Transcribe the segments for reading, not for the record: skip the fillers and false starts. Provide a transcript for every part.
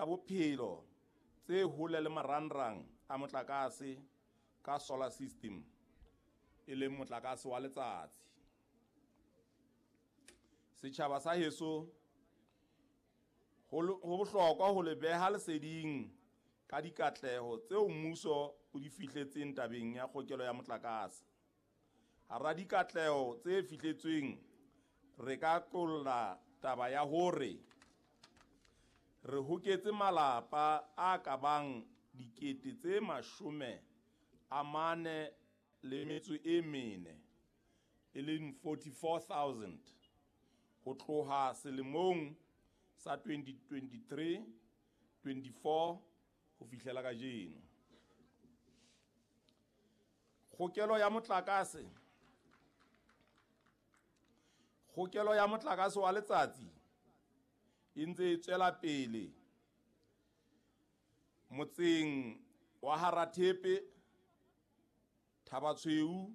bophelo tse hole le marangrang a motlakase ka solar system, e leng motlakase wa letsatsi. Setjhaba sa heso, ho bohlokwa ho le beha leseding ka dikatleho tseo mmuso o di fihletseng tabeng ya kgokelo ya motlakase. Hara dikatleho tse fihletsweng, re ka qolla taba ya hore re hoketse malapa a ka bang 44,000, e leng 44,000, ho tloha selemong sa 2023-24 ho fihlela kajeno. Kgokelo ya motlakase wa letsatsi e ntse e tswela pele motseng wa Harathepe, Thabatshweu,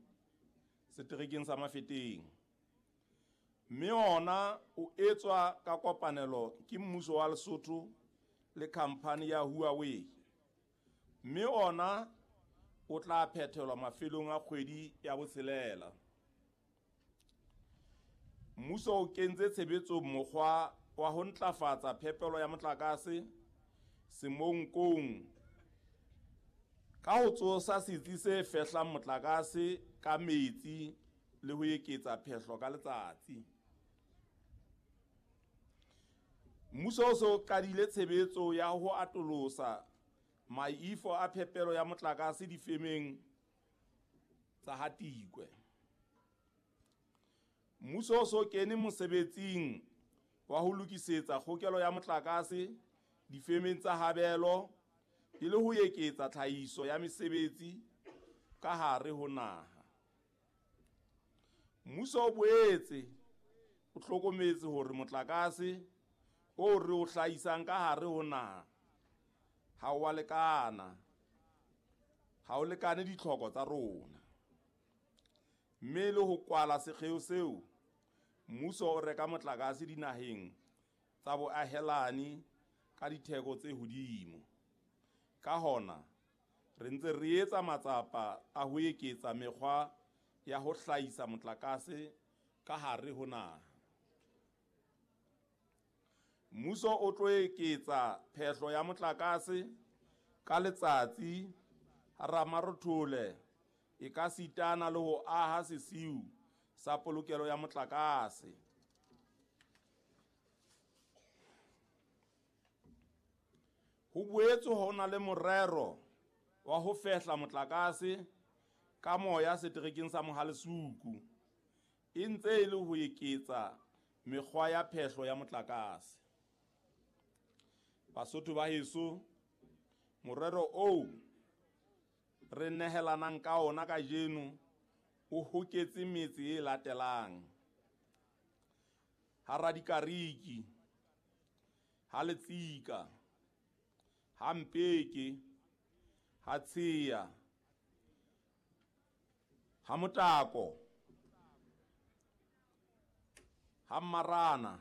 seterekeng sa Mafeteng, mme ona o etswa ka kopanelo ke mmuso wa Lesotho le khamphani ya Huawei, mme ona o tla phethelwa mafelong a kgwedi ya botshelela. Mmuso o kentse tshebetsong mokgwa wa ho ntlafatsa phepelo ya motlakase Semonkong ka ho tsosa setsi se fehlang motlakase ka metsi le ho eketsa phehlo ka letsatsi. Mmuso o so qadile tshebetso ya ho atolosa maifo a phepelo ya motlakase difemeng tsa Hatikwe. Mmuso o so kene mosebetsing wa ho lokisetsa kgokelo ya motlakase difemeng tsa Habelo e le ho eketsa tlhahiso ya mesebetsi ka hare ho naha. Mmuso o boetse o hlokometse hore motlakase o re o hlahisang ka hare ho naha ha o a lekana, ha o lekane ditlhoko tsa rona. Mme le ho kwala sekgeo seo, mmuso o reka motlakase dinaheng tsa boahelani ka ditheko tse hodimo. Ka hona, re ntse re etsa matsapa a ho eketsa mekgwa ya ho hlahisa motlakase ka hare ho naha. Mmuso o tlo eketsa phehlo ya motlakase ka letsatsi hara Marothole e ka sitana le ho aha sesiu sa polokelo ya motlakase. Ho boetse ho na le morero wa ho fehla motlakase ka moya seterekeng sa Mohalesuku, e ntse e le ho eketsa mekgwa ya phehlo ya motlakase. Basotho ba heso, morero oo re nehelanang ka ona kajeno o hoketse metse e latelang: Haradikariki, ha Letsika, ha Mpeke, ha Tshea, ha Motako, ha Mmarana.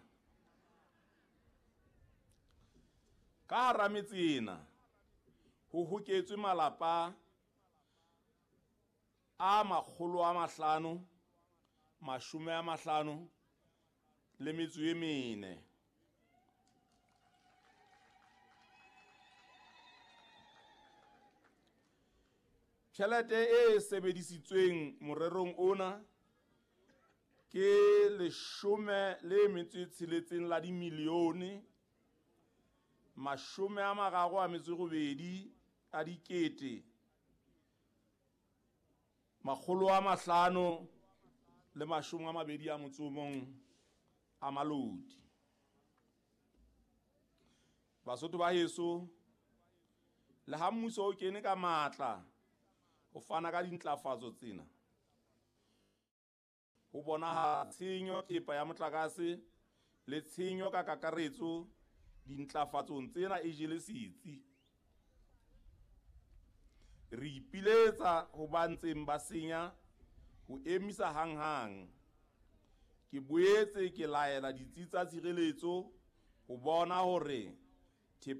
Ka hara metse ena ho hoketswe malapa a 554. Tjhelete e sebedisitsweng morerong ona ke 16 la dimilione 38 a dikete 521 a malodi. Basotho ba heso, le ha mmuso o kene ka matla ho fana ka dintlafatso tsena, ho bonahala tshenyo thepa ya motlakase le tshenyo ka kakaretso dintlafatsong tsena e jele setsi. Re ipiletsa ho ba ntseng ba senya ho emisa hanghang. Ke boetse ke laela ditsi tsa tshireletso ho bona hore